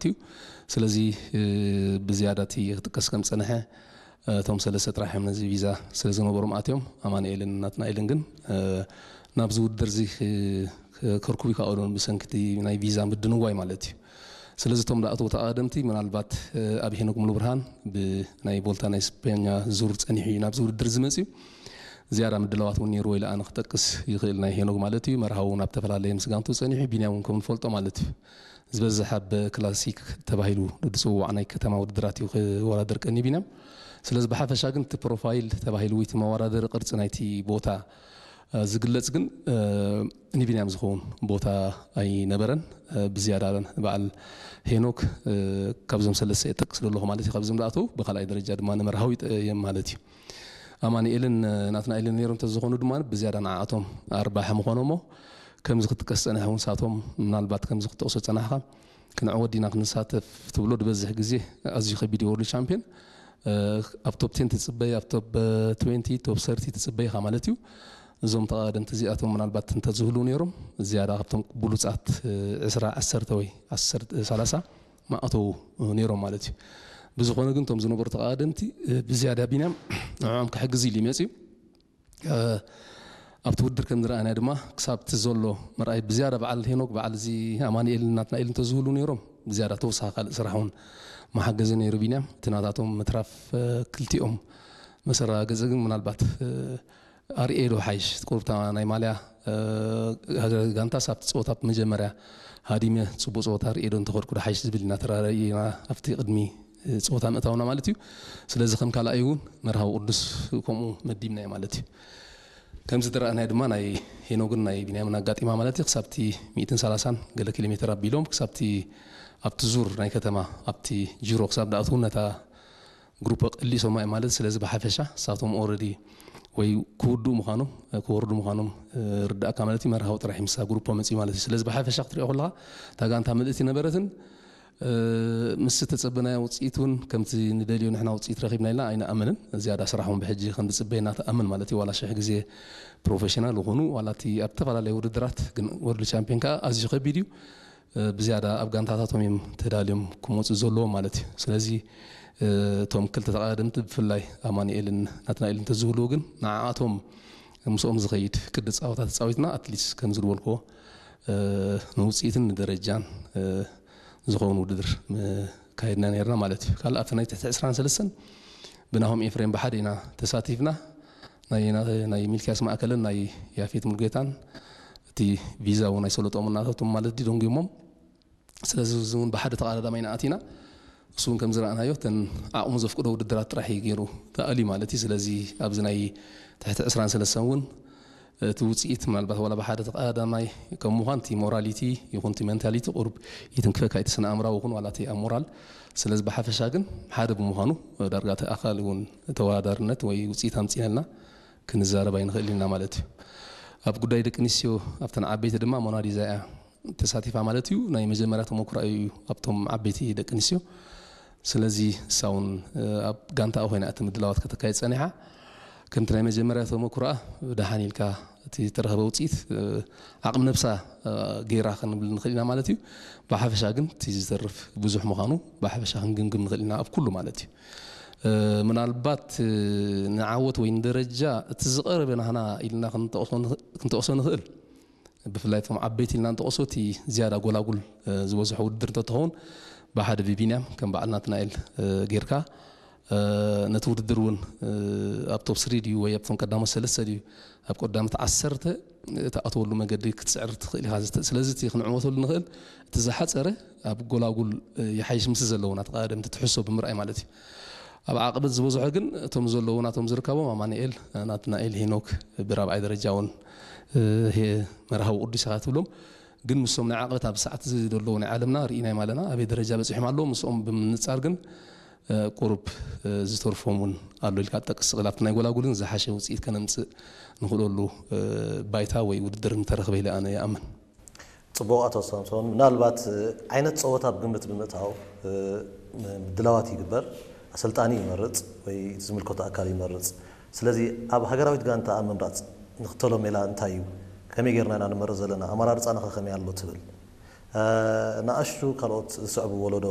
እዩ። ስለዚ ብዝያዳ እቲ ክጥቀስ ከም ዝጸንሐ፣ እቶም ሰለስተ ጥራሕ እዮም ነዚ ቪዛ ስለ ዝነበሮም ኣትዮም። ኣማኑኤልን ናትናኤልን ግን ናብዚ ውድድር እዚ ከርኩቡ ይከኣሉን ብሰንኪ ናይ ቪዛ ምድንጓይ ማለት እዩ። ስለዚ እቶም ዝኣተዉ ተቐዳደምቲ ምናልባት ኣብ ሄኖክ ሙሉብርሃን ብናይ ቮልታ ናይ ስፔኛ ዙር ጸኒሑ እዩ ናብዚ ውድድር ዝመጽእ እዩ። ዝያዳ ምድላዋት እውን ነይርዎ ኢለ ኣነ ክጠቅስ ይኽእል ናይ ሄኖክ ማለት እዩ። መርሃዊ እውን ኣብ ተፈላለየ ምስ ጋንቱ ጸኒሑ፣ ቢንያም እውን ከም ንፈልጦ ማለት እዩ። ዝበዝሕ ኣብ ክላሲክ ተባሂሉ ዝፅዋዕ ናይ ከተማ ውድድራት እዩ ክወዳደር ቀኒ ቢንያም። ስለዚ ብሓፈሻ ግን እቲ ፕሮፋይል ተባሂሉ ወይ እቲ መወዳደሪ ቅርፂ ናይቲ ቦታ ዝግለፅ ግን ንቢንያም ዝኸውን ቦታ ኣይነበረን። ብዝያዳ በዓል ሄኖክ ካብዞም ሰለስተ የጠቅስ ዘለኹ ማለት እዩ። ካብዞም ዝኣተው ብካልኣይ ደረጃ ድማ ንመርሃዊ እዮም ማለት እዩ። ኣማኒኤልን ናትናኤልን ነይሮም እንተዝኾኑ ድማ ብዝያዳ ንዓኣቶም ኣርባሒ ምኾኖሞ። ከምዚ ክትጥቀስ ጸኒሐ እውን ሳቶም ምናልባት ከምዚ ክትጠቕሶ ጸናሕካ ክንዕወት ዲና ክንሳተፍ ትብሎ ዝበዝሕ ግዜ ኣዝዩ ከቢድ እዩ። ወርልድ ቻምፒዮን ኣብ ቶፕ ቴን ትጽበይ፣ ኣብ ቶፕ ትዌንቲ፣ ቶፕ ሰርቲ ትጽበይ ኢኻ ማለት እዩ። እዞም ተቐዳደምቲ እዚኣቶም ምናልባት እንተዝህልዉ ነይሮም ዝያዳ ካብቶም ብሉጻት ዕስራ፣ ዓሰርተ ወይ ዓሰርተ፣ ሰላሳ ምኣተዉ ነይሮም ማለት እዩ። ብዝኾነ ግን እቶም ዝነበሩ ተቐዳደምቲ ብዝያዳ ቢንያም ንዕኦም ክሕግዝ ኢሉ ይመጽእ እዩ። ኣብቲ ውድድር ከም ዝረኣናዮ ድማ ክሳብ እቲ ዘሎ ምርኣይ ብዝያዳ በዓል ሄኖክ በዓል እዚ ኣማኒኤል ናትናኤል እንተዝህሉ ነይሮም ብዝያዳ ተወሳኺ ካልእ ስራሕ እውን መሓገዘ ነይሩ ቢንያም። እቲ ናታቶም ምትራፍ ክልቲኦም መሰራገፂ ግን ምናልባት ኣርኤዶ ሓይሽ ቁርብታ ናይ ማልያ ጋንታ ሳብቲ ፀወታ መጀመርያ ሃዲመ ፅቡቅ ፀወታ ርኤዶ እንተኸድኩ ሓይሽ ዝብል ኢና ተራራኢና ኣብቲ ቅድሚ ፀወታ ምእታውና ማለት እዩ። ስለዚ ከም ካልኣይ እውን መርሃዊ ቅዱስ ከምኡ መዲብናዮ ማለት እዩ። ከምዚ ዝረኣናዮ ድማ ናይ ሄኖግን ናይ ቢንያምን ኣጋጢማ ማለት እዩ። ክሳብቲ ሚእትን ሰላሳን ገለ ኪሎ ሜትር ኣቢሎም ክሳብቲ ኣብቲ ዙር ናይ ከተማ ኣብቲ ጅሮ ክሳብ ዳኣትው ነታ ግሩፕ ቀሊሶማ እዩ ማለት። ስለዚ ብሓፈሻ ሳቶም ኦረዲ ወይ ክውድኡ ምዃኖም ክወርዱ ምዃኖም ርዳእካ ማለት እዩ። መርሃዊ ጥራሕ ምሳ ግሩፖ መፅዩ ማለት እዩ። ስለዚ ብሓፈሻ ክትሪኦ ከለካ እታ ጋንታ ምልእቲ ነበረትን ምስ ተጸበናዮ ውፅኢት እውን ከምቲ ንደልዮ ንሕና ውፅኢት ረኺብና ኢልና ኣይንኣምንን። ዝያዳ ስራሕ እውን ብሕጂ ከም ዝፅበየና ትኣምን ማለት እዩ። ዋላ ሽሕ ግዜ ፕሮፌሽናል ይኹኑ ዋላ እቲ ኣብ ዝተፈላለዩ ውድድራት ግን ወርልድ ቻምፒዮን ከዓ ኣዝዩ ከቢድ እዩ። ብዝያዳ ኣብ ጋንታታቶም እዮም ተዳልዮም ክመፁ ዘለዎም ማለት እዩ። ስለዚ እቶም ክልተ ተቐዳደምቲ ብፍላይ ኣማኑኤልን ናትናኤልን እንተዝህልዉ ግን ንዓኣቶም ምስኦም ዝኸይድ ቅዲ ፃወታ ተፃዊትና ኣትሊስት ከም ዝበልክዎ ንውፅኢትን ንደረጃን ዝኸውን ውድድር ካይድና ነርና ማለት እዩ። ካልእ ኣብቲ ናይ ትሕቲ ዕስራን ሰለስተን ብናሆም ኤፍሬም ብሓደ ኢና ተሳቲፍና። ናይ ሚልክያስ ማእከልን ናይ ያፌት ሙሉጌታን እቲ ቪዛ እውን ኣይሰለጦም እናታቶም ማለት ድዩ ደንጉሞም። ስለዚ እዚ እውን ብሓደ ተቐዳዳማይ ኢና ኣቲና። እሱ እውን ከም ዝረኣናዮ እተን ዓቕሙ ዘፍቅዶ ውድድራት ጥራሕ እዩ ገይሩ ተኣልዩ ማለት እዩ። ስለዚ ኣብዚ ናይ ትሕቲ ዕስራን ሰለስተን እውን እቲ ውፅኢት ምናልባት ዋላ ብሓደ ተቐዳዳማይ ከም ምዃን እቲ ሞራሊቲ ይኹን እቲ ሜንታሊቲ ቁሩብ ይትንክፈካ እቲ ስነ ኣእምራዊ ይኹን ዋላ እቲ ኣብ ሞራል። ስለዚ ብሓፈሻ ግን ሓደ ብምዃኑ ዳርጋ እቲ ኣካል እውን ተወዳዳርነት ወይ ውፅኢት ኣምፂእናልና ክንዛረብ ኣይንኽእል ኢና ማለት እዩ። ኣብ ጉዳይ ደቂ ኣንስትዮ ኣብተን ዓበይቲ ድማ ሞናሊዛ እያ ተሳቲፋ ማለት እዩ። ናይ መጀመርያ ተመኩራ እዩ ኣብቶም ዓበይቲ ደቂ ኣንስትዮ። ስለዚ እሳ እውን ኣብ ጋንታኣ ኮይና እቲ ምድላዋት ከተካየድ ጸኒሓ። ከምቲ ናይ መጀመርያ ተመኩሮኣ ደሓን ኢልካ እቲ ተረኸበ ውፅኢት ዓቕሚ ነብሳ ገይራ ክንብል ንኽእል ኢና ማለት እዩ። ብሓፈሻ ግን እቲ ዝተርፍ ብዙሕ ምዃኑ ብሓፈሻ ክንግምግም ንኽእል ኢና ኣብ ኩሉ ማለት እዩ። ምናልባት ንዓወት ወይ ንደረጃ እቲ ዝቐረበ ናህና ኢልና ክንጠቕሶ ንኽእል ብፍላይ እቶም ዓበይቲ ኢልና ንጠቕሶ እቲ ዝያዳ ጎላጉል ዝበዝሖ ውድድር እንተትኸውን ብሓደ ብቢንያም ከም በዓል ናትናኤል ጌርካ ነቲ ውድድር እውን ኣብ ቶፕ ስሪ ድዩ ወይ ኣብቶም ቀዳሞት ሰለስተ ድዩ ኣብ ቀዳሞት ዓሰርተ እትኣትወሉ መገዲ ክትስዕር ትኽእል ኢኻ። ስለዚ እቲ ክንዕወተሉ ንኽእል እቲ ዝሓፀረ ኣብ ጎላጉል ይሓይሽ ምስ ዘለውና ተቐዳደምቲ ትሕሶ ብምርኣይ ማለት እዩ። ኣብ ዓቕበት ዝበዝሖ ግን እቶም ዘለውና እቶም ዝርከቦም ኣማኑኤል ናትናኤል ሄኖክ ብራብዓይ ደረጃ እውን መርሃዊ ቅዱስ ኢኻ ትብሎም። ግን ምስቶም ናይ ዓቕበት ኣብ ሰዓት እዚ ዘለዉ ናይ ዓለምና ርኢናዮም ኣለና ኣበይ ደረጃ በፂሖም ኣለዉ። ምስኦም ብምንፃር ግን ቁሩብ ዝተርፎም እውን ኣሎ ኢልካ ትጠቅስ ትኽእል። ኣብቲ ናይ ጎላጉልን ዝሓሸ ውፅኢት ከነምፅእ ንኽእለሉ ባይታ ወይ ውድድር ምተረኽበ ኢለ ኣነ ይኣምን። ፅቡቕ ኣቶ ሳምሶን፣ ምናልባት ዓይነት ፀወታ ብግምት ብምእታው ምድላዋት ይግበር፣ ኣሰልጣኒ ይመርፅ ወይ ዝምልከቶ ኣካል ይመርፅ። ስለዚ ኣብ ሃገራዊት ጋንታ ኣብ ምምራፅ ንኽተሎ ሜላ እንታይ እዩ? ከመይ ጌርና ኢና ንመርፅ ዘለና? ኣመራርፃና ኸ ከመይ ኣሎ ትብል? ንኣሽቱ ካልኦት ዝስዕቡ ወለዶ